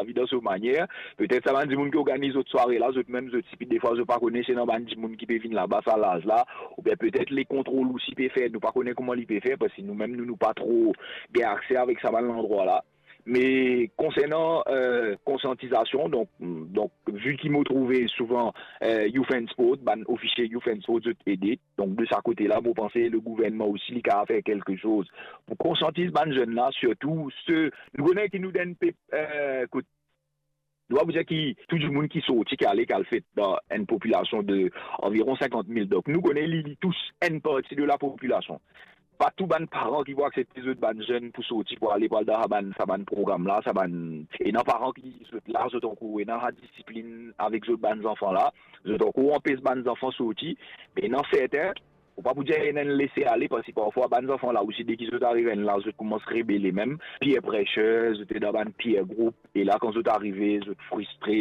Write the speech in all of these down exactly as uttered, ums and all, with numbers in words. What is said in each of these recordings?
servi dan so manier. Petet sa bann dimoun ki organiz zot sware la, zot mem, zot sipi, defwa zot pa kone si ena bann dimoun ki pe vinn laba sa laz la, oubien petet le kontrol osi pe fer, nou pa kone kouma li pe fer, parski nou mem, nou, nou pa tro gagn akse avek sa bann landrwa la. Me konsernan, eh, konsiantizasion, donk, donk, vi ki mo trouve souvan, eh, Youth and Sport, bann ofisie Youth and Sport, zot ede. Donk, de sa kote la, mo panse le gouvernman osi, li kapav fer kelke soz pou konsiantiz bann zenn la, sirtou se, nou kone ki nou dan enn pep, eh, kot nou pa pou dir ki tou dimoun ki sorti, ki ale, ki al fet dan enn popilasion de anviron sinkant mil. Donk, nou kone li, li tous enn parti de lapopilasion. Pa tou bann paran ki pou aksepte zot bann zenn pou sorti, pou ale, pou al dan sa bann, sa bann program la, sa bann, ena paran ki zot la, zot ankor ena sa disiplin avek zot bann zanfan la, zot ankor anpes bann zanfan sorti, me ena sertin, ou pa pou dir ena enn lese ale, parski parfwa bann zanfan la osi, deki zot ariv enn laz, zot koumans rebele mem, peer pressure, zot ena bann peer group, e la, kan zot arive, zot fristre,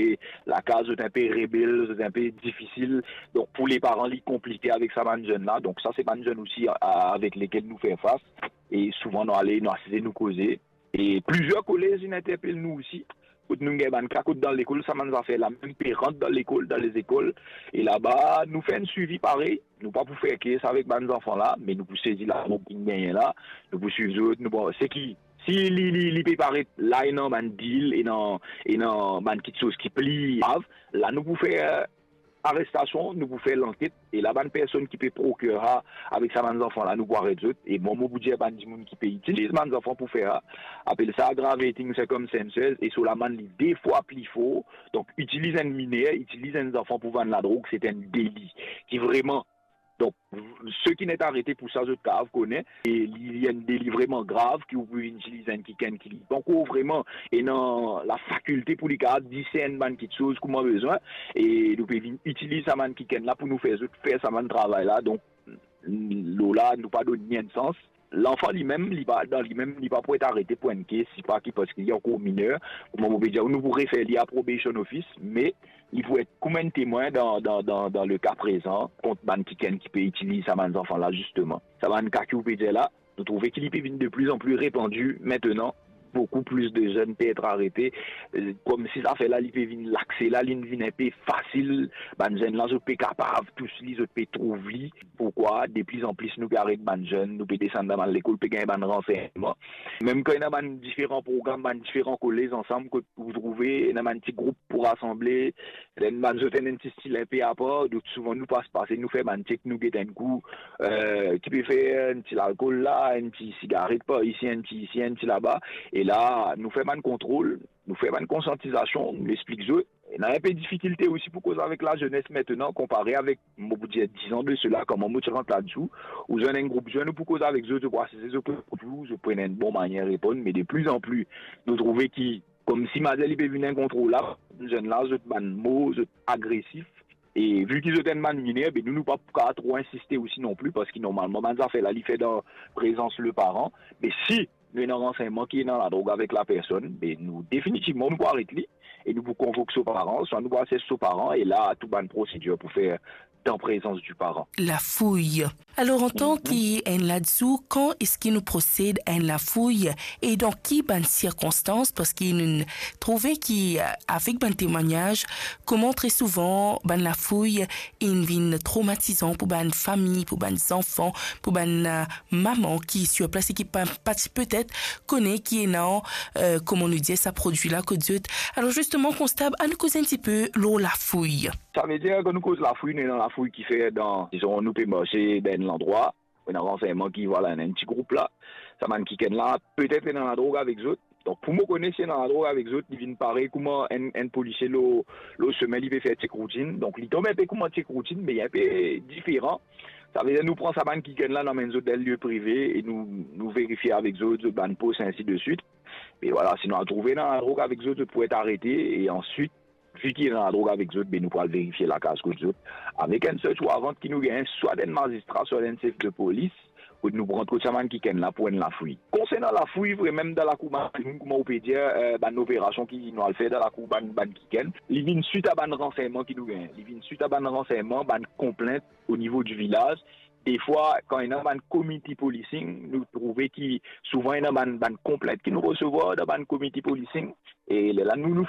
lakaz zot inpe rebel, zot inpe difisil. Donk, pou le paran, li konplike avek sa bann zenn la. Donk, sa se bann zenn osi a-, avek lekel nou fer fas. E souvan, nou ale, nou asize, nou koze. E plizier kolez inn interpel nou osi, kot nou gagn bann ka kot dan lekol, sa bann zafer la mem pe rant dan lekol, dan lezekol. E laba, nou fer enn swivi parey. Nou pa pou fer kes avek bann zanfan la, me nou pou sezi ladrog ki gagne la, nou pou swiv zot, nou pou, seki, si li, li, li pe paret la, ena bann deal, ena, ena bann kiksoz ki pli grav, la nou pou fer arestasion, nou pou fer lanket, e la bann personn ki pe proker sa avek sa bann zanfan la, nou pou aret zot. E mwa, mo pou dir bann dimoun ki pe itiliz bann zanfan pou fer sa, apel sa aggravating circumstances, e so lamann li de fwa pli for. Donk, itiliz enn miner, itiliz enn zanfan pou vann ladrog, se enn deli ki vreman, donk, seki inn arete pou sa, zot kapav kone, e li, li enn deli vreman grav, ki ou pou vinn itiliz enn kikenn ki li pankor vreman ena lafakilte pou li kapav disern bann kiksoz kouma bizin, e nou pe vinn itiliz sa bann kikenn la pou nou fer zot fer sa bann travay la. Donk, lor la, nou pa donn li enn sans. Lanfan limem, li pa, dan limem, li pa pou et arete pou enn kes, sipa ki, parski li ankor miner. Kouma mo pe dir, nou pou refer li a probation office, me li pou et kouma enn temwin dan, dan, dan, dan le ka prezan, kont bann kikenn ki pe itiliz sa bann zanfan la, zisteman. Sa bann ka ki ou pe dir la, nou trouve ki li pe vinn de pli an pli repandi aster. Boukou plis de zenn pe et arete, eh, koumsi zafer la, li pe vinn lakse la, li vinn inpe fasil. Bann zenn la, zot pe kapav tous li, zot pe trouv li. Poukwa? De plis an plis, nou pe aret bann zenn, nou pe desann dan bann lekol, pe gagn bann ransennman. Mem kan ena bann diferan program, bann diferan kolez ansam, kot ou trouve, ena bann ti group pou rasanble, ena bann zot ena enn ti stil inpe apar, donk souvan nou pas pase, nou fer bann chek, nou get enn kou, eh, ki pe fer enn ti lalkol la, enn ti sigaret par isi, enn ti isi, enn ti laba. E la, nou fer bann kontrol, nou fer bann konsiantizasion, nou explik zot. Ena inpe difikilte osi pou koz avek lazenes aster, konpare avek, mo pou dir, diz an de sela, kouma mo ti rant ladan, ou zwenn enn group zenn, ou pou koz avek zot, zot pou asize, zot pou, zot pou ena enn bon manier reponn, me de plis an plis, nou trouve ki, koumsi mater li pe vinn inkontrolab, zenn la, zot bann mo, zot agresif, e vi ki zot enn bann miner, be nou, nou pa pou kapav tro insiste osi non pli, parski normalman, bann zafer la, li fer dan prezans le paran, me si nou ena ransennman ki ena ladrog avek lapersonn, be nou, definitivman, nou pou aret li, e nou pou konvok so paran, swa nou pou asize so paran, e la, tou bann prosidir pou fer dan prezans di paran. Lafouy. Alor, antan ki enn ladan, kan eski nou prosed a enn lafouy e dan ki bann sirkonstans? Parski nou trouve ki, eh, avek bann temwagnaz, kouma tre souvan bann lafouy inn vinn tromatizan pou bann fami, pou bann zanfan, pou bann, eh, mama ki sir plas e ki pa, pa ti petet kone ki ena, eh, kouma nou dir, sa prodwi la kot zot. Alor zisteman, konstab, annou koz enn tipe lor lafouy. Savedir, kan nou koz lafouy, nou ena lafouy ki fer dan, dizon, nou pe marse dan enn landrwa, ena ransennman ki, vwala, ena enn ti group la, sa bann kikenn la, petet ena ladrog avek zot. Donk, pou mo kone si ena ladrog avek zot, li vinn parey kouma enn, enn polisie lor, lor sime, li pe fer chek routin. Donk, li tonbe inpe kouma chek routin, me inpe diferan. Savedir, nou pran sa bann kikenn la, nou amenn zot dan lie prive e nou, nou verifie avek zot, zot bann pos, ainsi de suite. E vwala, si nou al trouve ena ladrog avek zot, zot pou et arete, e answit, vi ki ena ladrog avek zot, be nou pou al verifie lakaz kot zot, avek enn search warrant ki nou gagn, swa enn mazistra, swa enn sef de polis, kot nou pou rant kot sa bann kikenn la pou enn lafouy. Konsernan lafouy, vremem dan lakour bann dimoun, kouma ou pe dir, eh, bann operasion ki nou al fer dan lakour bann, bann kikenn, li vinn swit a bann ransennman ki nou gagn. Li vinn swit a bann ransennman, bann konplint o nivo di vilaz. Defwa, kan ena bann community policing, nou trouve ki souvan ena bann, bann konplint ki nou resevwar dan bann community policing. E lerla, nou, nou